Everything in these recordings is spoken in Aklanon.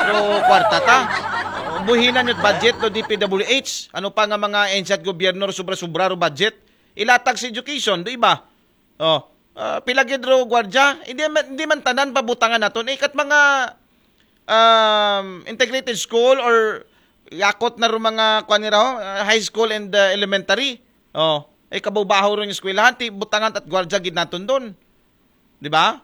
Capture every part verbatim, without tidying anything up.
Pero kwarta ta. Buhinan yung budget do D P W H. Ano pa nga mga ahensya at gobyerno ro sobra-sobra ro budget? Ilatag sa education, di ba? Oh, ah, pila gid ro gwardiya? Hindi man, hindi man tanan pabutangan naton. Eh, kat mga um, integrated school or yakot na ro mga, kuwan nira, oh, ah, high school and uh, elementary. Oh, eh, kabubaho ron yung eskwelahan, ti butangan at gwardiya gid naton doon. Di ba?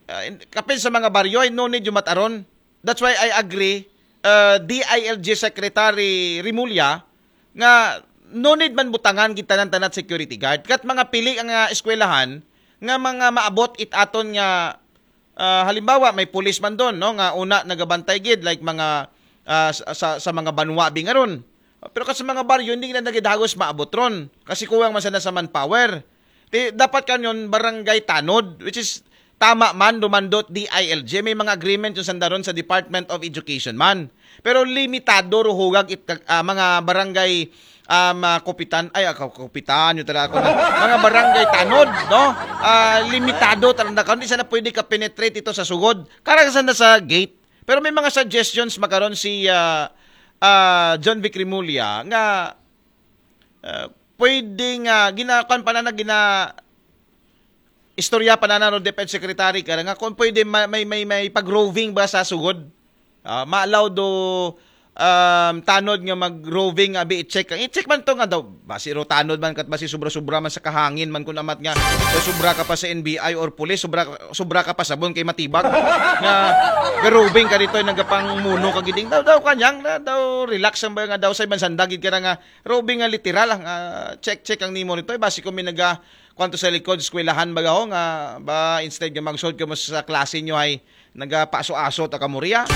Ah, in- kapin sa mga baryo, eh, no need yung mataron. That's why I agree, uh, D I L G Secretary Remulla, nga no need man butangan gid tanan-tanan security guard. Kat mga pili ang uh, eskwelahan, nga mga maabot it aton nga, ah, halimbawa, may pulis man doon, no, nga una nagabantay gid, like mga, ah, sa, sa, sa mga banwa, bingaron. Pero kasi mga baryo, hindi na nagidagos maabot ron. Kasi kuwang man sana sa manpower. Ti, dapat kanyon barangay tanod, which is tama man, dumandot D I L G. May mga agreement yung sandaron sa Department of Education man. Pero limitado ruhugag it, ah, mga barangay, um, ah, kupitan, ay, ah, kupitan, yung talaga ako na, mga barangay tanod, no? Ah, limitado talaga. Hindi sana pwede ka penetrate ito sa sugod. Karang sana sa gate. Pero may mga suggestions makaron si ah, ah, John Vic Remulla nga ah, pwede nga ginakuan pa na na gina istorya pa na na ro DepEd Secretary ka nga kung pwede ma- may may may pag-roving ba sa sugod. Ah, ma-allow do um, tanod nga mag-roving abi i-check. I-check man to nga daw basi ro tanod man kat basi sobra-sobra man sa kahangin man kun amat nga so sobra ka pa sa N B I or police, sobra sobra ka pa sabon kay matibag. Nga ga-roving ka dito nagapang muno ka giding daw daw kanyang na daw relax ang ba nga daw sa iban sandagid ka na nga roving nga literal nga check check ang nimo nito basi ko may naga kwanto sa likod eskwelahan baga ho nga ba instead nga magsod ka mo sa klase nyo ay nagapaso-aso ta ka mo riya.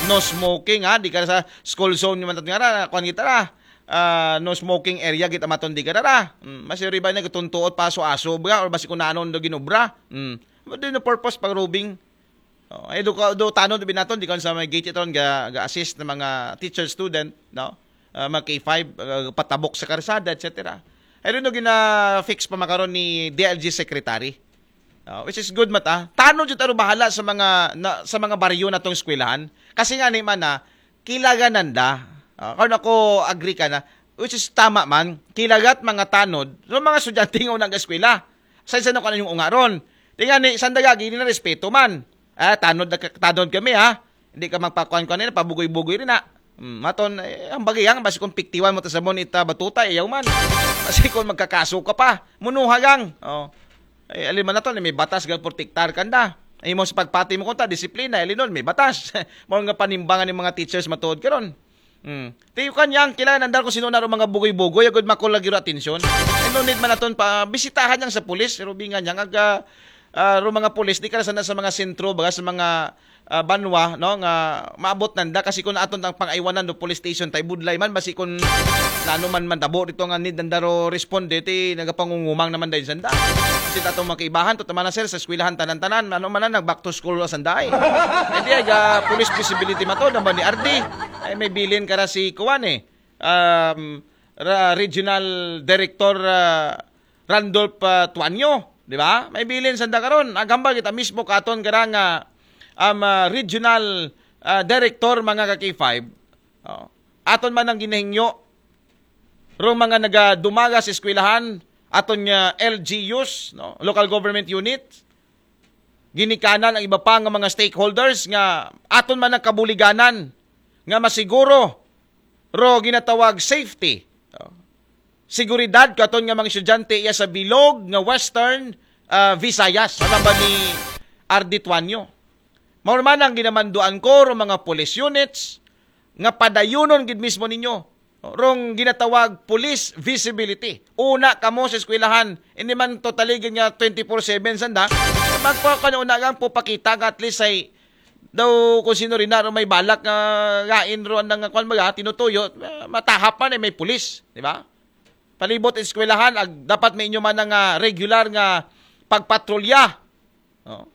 No smoking ha, di ka sa school zone nyo man nga ra, kwan kita ra. Ah, no smoking area git amaton di ka ra. Mm, mas riba na gatuntuot paso-aso ba or basi kunanon do ginobra. Mm. But then the purpose pag roving. Oh, ay do ka do tanod binaton di ka sa may gate iton ga, ga assist ng mga teacher student, no? Ah, mga K five ah, patabok sa karsada, et cetera. Ay rin no gina-fix pa makaron ni D L G secretary. Ah, which is good mata. Tanod jud aro bahala sa mga na, sa mga baryo natong eskwelahan. Kasi nga ni man na kilaganan da. Ah, karon ako agree ka na which is tama man. Kilagat mga tanod, yung mga estudyante nga unang eskwela. Sa isa na ko yung unga ron. Di nga ni sandagagi ni na respeto man. Ah, tanod na ka- tanod kami ha. Hindi ka magpakuan-kuan nila, pabugoy-bugoy rin na. Hmm, maton, eh, ang bagay ang basi kung piktiwan mo ta sa mon ita batuta ayaw man. Basi kung magkakaso ka pa, munuha gang. Oh. Eh, alin man naton, may batas ga protektar kanda. Ay mo sa pagpati mo kunta disiplina, alinon may batas. Mo nga panimbangan ng mga teachers matuod karon. Hmm. Ti kanyang kailangan andar ko sino na ro mga bugoy-bugoy agud makulagiro atensyon. Eh, no need man naton pa bisitahan yang sa pulis, rubingan yang aga ah, ro mga pulis di ka na sana sa mga sentro baga sa mga ah, banwa no nga maabot nanda kasi kung aton ang pangaiwanan do police station tay budlay man basi kung nano man man tabo dito nga need nanda ro responde ti nagapangungumang naman dahil sanda. Kasi atong mga kaibahan to tama na sir sa eskwelahan tanan-tanan ano man na nag back to school sa sanday. Hindi ay ah, police visibility mato naman ni R D. Ay may bilin ka na si kuwan eh. Um, ra- regional director ah, Randolph ah, Tuanyo, di ba? May bilin sanda karon. Agambal kita mismo katon gara nga um, ah, regional ah, director mga ka K five. Oh. Aton man ang ginahingyo rong mga nagadumaga sa eskwelahan, aton nga L G Us, no? Local government unit, ginikanan ang iba pa nga mga stakeholders nga aton man ang kabuliganan nga masiguro ro ginatawag safety. Oh. Seguridad katon nga mga estudyante iya sa bilog nga Western ah, Visayas. Alam ba ni R D Tuanyo? Mao man ang ginamanduan ko ro mga police units nga padayunon gid mismo ninyo. Rong ginatawag police visibility. Una kamo sa eskwelahan, hindi man totally gid nga twenty-four seven sanda. Magpa ka una gang pupakita nga at least ay daw kung sino rin na may balak nga gain ro ang nga kwan baga, tinutuyo, ah, matahap man eh, may pulis, di ba? Palibot eskwelahan, ag, dapat may inyo man nga regular nga pagpatrolya. Oh.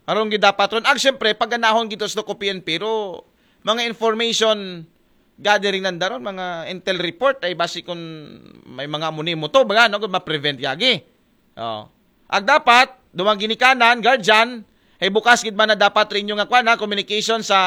Arong gidapat ron. Ag siyempre, pag-anahon gito sa ko P N P, pero mga information gathering nanda ron, mga intel report, ay basi kung may mga muni mo to, baga, no, ma-prevent yagi. Oh. Ag dapat, duwang ginikanan, guardian, ay bukas gid man na dapat rin yung nga kwan, ha, communication sa